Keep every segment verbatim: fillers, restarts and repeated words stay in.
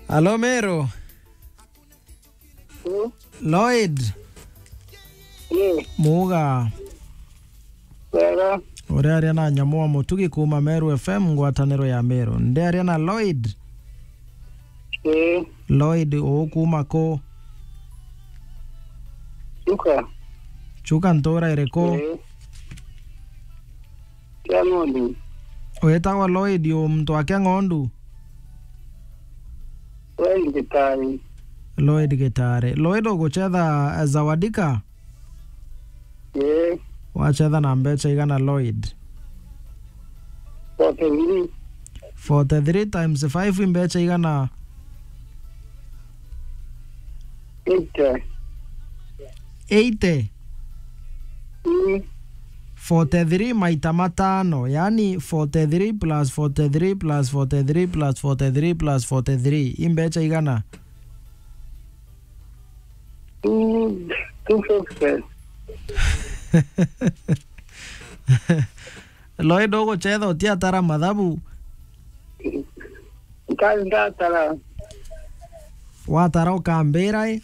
Alo, Meru. Lloyd. Muga. Wega. Uri aria na Nyamu wa Mutugi kuma Meru F M, ngwataniro ya Meru. Ndi aria na Lloyd. Ii. Lloyd, uu kuma ku? Chuka. Chuka ntura iriku? Ii. Kiang'ondu. Witagwa Lloyd, u muntu wa Kiang'ondu? Lloyd Gitari. Lloyd Gitari. Lloyd, ugucetha, eh, Zawadika? Ii. Wacetha na mbecha igana, Lloyd? Forty-three. Forty-three times five i mbecha igana? Eighty. Eighty? Mm. Forty-three maita matano, yani forty-three plus forty-three plus forty-three plus forty-three plus forty-three. I mbecha igana? Two, two fifty. Lloyd, ugucetha utiatara mathabu? Nka-, ndatara. Watara ukambira i?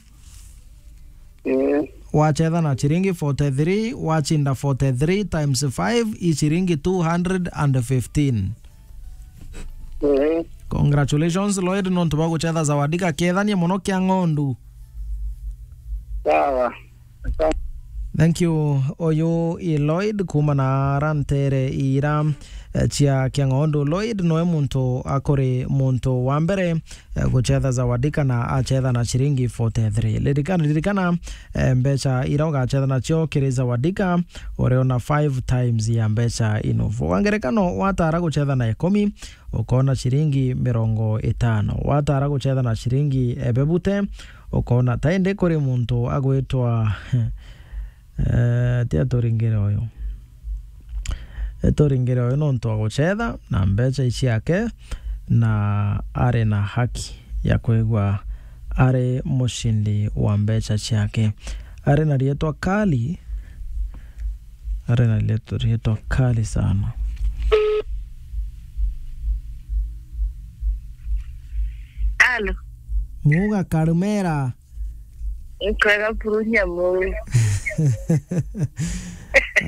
Ii. Wacetha na ciringi forty-three, wacinda forty-three times five, i ciringi two hundred and fifteen. Ii. Congratulations, Lloyd, nontu bwa gucetha Zawadika. Kethania mono Kiang'ondu. Sawa. Thank you. Uyu i Lloyd kuma na aria ntere ira, eh, cia Kiang'ondu. Lloyd noe muntu akuri muntu wa mbere, eh, gucetha Zawadika na acetha na ciringi forty-three. Ririkana, ririkana, eh, mbecha ira ugacetha nacio kiri Zawadika, uriona five times ya mbecha ino. Kwa ngerekano, watara gucetha na ikumi, ukona ciringi mirongo itano. Watara gucetha na ciringi ebebute, ukona ta indi kuri muntu agwitwa, eh, ti aturingire uyu. Aturingire uyu nontu wa gucetha na mbecha i ciake, na ari na haki ya kwigua ari mucindi wa mbecha ciake. Ari na rietwa kali, ari na rietwa, rietwa kali sana. Alo. Muga Karumera. Nkwega buru Nyamu.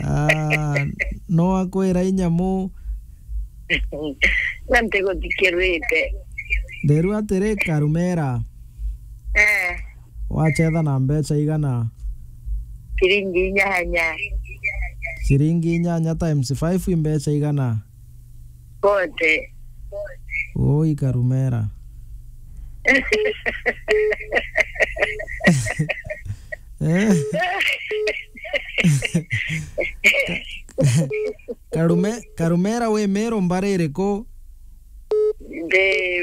Ah, no akwira i Nyamu. Na ntiguthikirite. Nderu atiri, Karumera. Eh. Wachetha na mbecha igana? Ciringi inyanya. Ciringi inyanya times five i mbecha igana? Bote. Oi, Karumera. Eh? Ka-, Karume-, Karumera wi Meru mbari iriku? Ndi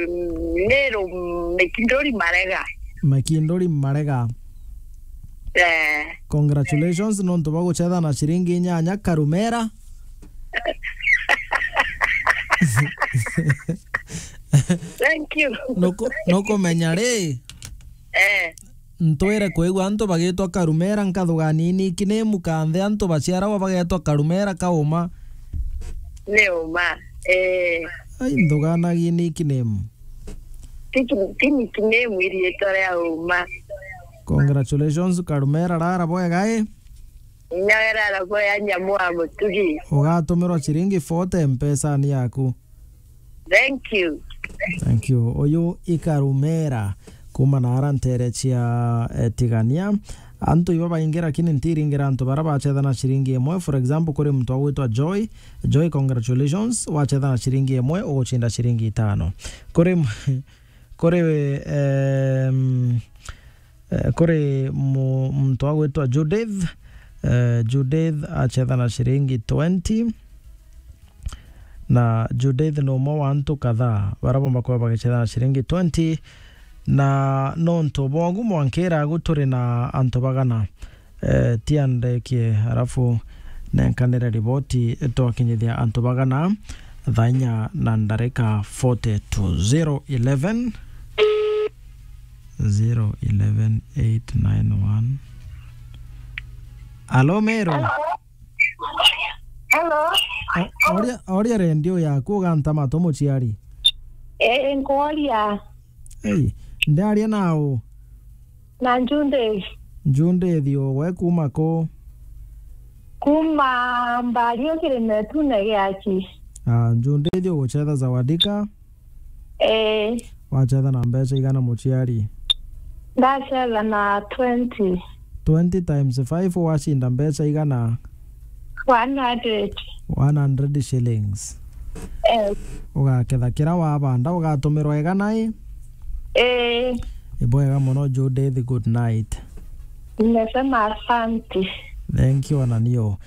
Meru Mikinduri Marega. Mikinduri Marega. Eh. Congratulations nontu bwa guchetha na ciringi inyanya, Karumera. Thank you. Nuku-, nukumenya ri? Eh. Ntwire kwigua antu bagitwa Karumera, nkathugania i nickname, kanthe antu baciaragwa bagetwa Karumera kauma. Ni uma. Eh. Ai, nthuganagia i nickname. Ti ki-, ti nickname, i riitwa ria uma. Congratulations, Karumera, rara bwega, i? Nyawe rara bwega, Nyamu wa Mutugi. Ugatumirwa ciringi forty mpesani yaku. Thank you. Thank you. Uyu i Karumera kuma na ara ntere cia, eh, Tigania. Antu iba baingi, lakini ntiringira antu bara bachetha na ciringi imwe. For example, kuri muntu agwitwa Joy. Joy, congratulations. Wachetha na ciringi imwe, uguchinda ciringi itano. Kuri m-, kuri, em, eh, kuri mu-, muntu agwitwa Judith. Eh, Judith achetha na ciringi twenty. Na Judith ni umwe wa antu kadhaa bara bomba kuba bagichetha na ciringi twenty. Na nontu bwa ugu mwankira agu turi na antu bagana. Eh, tia ndekie, alafu nenkanire riboti twakinyithia antu bagana thaa inya na ndarika forty-two. Zero eleven, zero eleven eight nine one. Alo, Meru. Hello. O-, oria, oria redio yaku ugantama tu muciari. Eh, nkworia. Ei, Ndaria nau. Na Njundithi. Njundithi, we kuma ku? Kuma Mbario kirimetune giaci. Ah, Njundithi ugucetha Zawadika? Ee. Wacetha na mbeca igana muciari? Ndacetha na twenty. Twenty times five wacinda mbeca igana? One hundred. One hundred shillings. Ee. Ugaketha kira wabanda, ugatumirwa igana i? Ee. Ibwega muno Judith, good night. Nimesema asante. Thank you, ananio.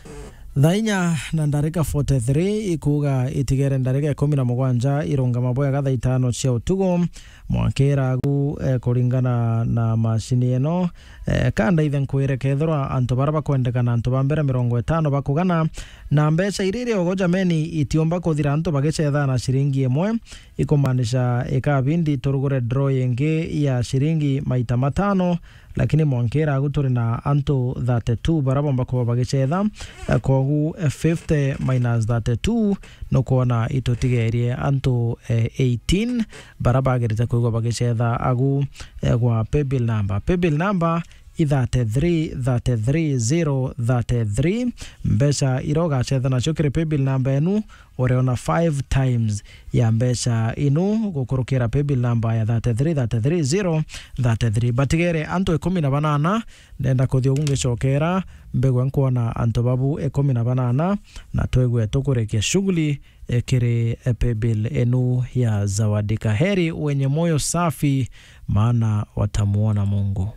Thaa inya na ndarika forty-three ikuuga itigere ndarika ikumi na mugwanja irungama bwega thaa itano cia utugu. Mwankira agu, eh, kuringana na macini ino, eh, ka ndaithe nkwire, kethirwa antu bara bakwendekana, antu ba mbere mirongo itano bakugana na mbeca iria iri ogo, jameni, itiumba kuthira antu bagicetha na ciringi imwe, ikumaanisha ikabindi turugure draw ingi ya ciringi maita matano, lakini mwankira agu turi na antu thirty-two bara bomba kuba bagicetha. Eh, kwogu, eh, fifty minus thirty-two, nukwona itutigerie antu, eh, eighteen bara bagirite kwigua bagicetha agu, eh, gwa paybill number. Paybill number i thirty-three, thirty-three, zero thirty-three. Mbeca iria ugacetha nacio kiri paybill number enu, uriona five times ya mbeca inu gukurukira paybill number ya thirty-three, thirty-three, zero thirty-three. Batigere antu ikumi na banana, ndenda kuthia ugu ngicokera, mbigwe nkwona antu babu ikumi na banana, na twigwe tukurikia shughuli, eh, kiri, eh, paybill enu ya Zawadika. Heri wenye moyo safi, maana watamuona Mungu.